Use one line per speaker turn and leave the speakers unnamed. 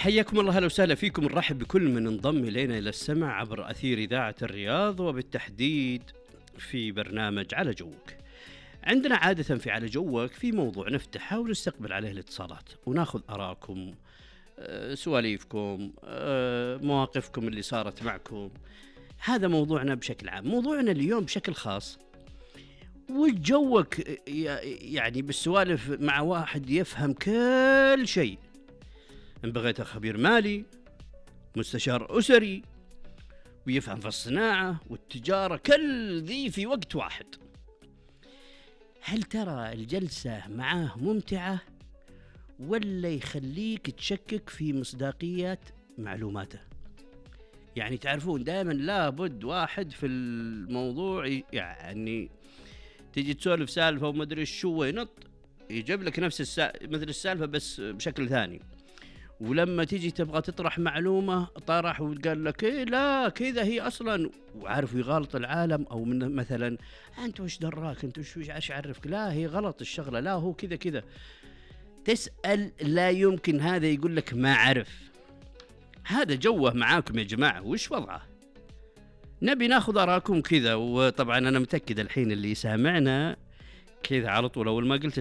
حياكم الله، هلا وسهلا فيكم، نرحب بكل من انضم إلينا إلى السمع عبر أثير إذاعة الرياض، وبالتحديد في برنامج على جوك. عندنا عادة في على جوك في موضوع نفتحه ونستقبل عليه الاتصالات وناخذ آراءكم، سواليفكم، مواقفكم اللي صارت معكم. هذا موضوعنا بشكل عام. موضوعنا اليوم بشكل خاص وجوك يعني بالسوالف مع واحد يفهم كل شيء. إن بغيت خبير مالي، مستشار أسري، ويفهم في الصناعة والتجارة، كل ذي في وقت واحد. هل ترى الجلسة معاه ممتعة ولا يخليك تشكك في مصداقية معلوماته؟ يعني تعرفون دائما لابد واحد في الموضوع، يعني تيجي تسولف سالفة وما أدري شو ينط يجيب لك نفس مثل السالفة بس بشكل ثاني، ولما تيجي تبغى تطرح معلومة طرح وقال لك إيه لا كذا هي أصلا، وعارف يغالط العالم. أو من مثلا أنت وش دراك، أنت وش عرفك، لا هي غلط الشغلة، لا هو كذا كذا. تسأل لا يمكن هذا يقول لك ما عرف. هذا جوه معاكم يا جماعة، وش وضعه؟ نبي ناخذ أراكم كذا. وطبعا أنا متأكد الحين اللي سامعنا كذا على طول أول ما قلت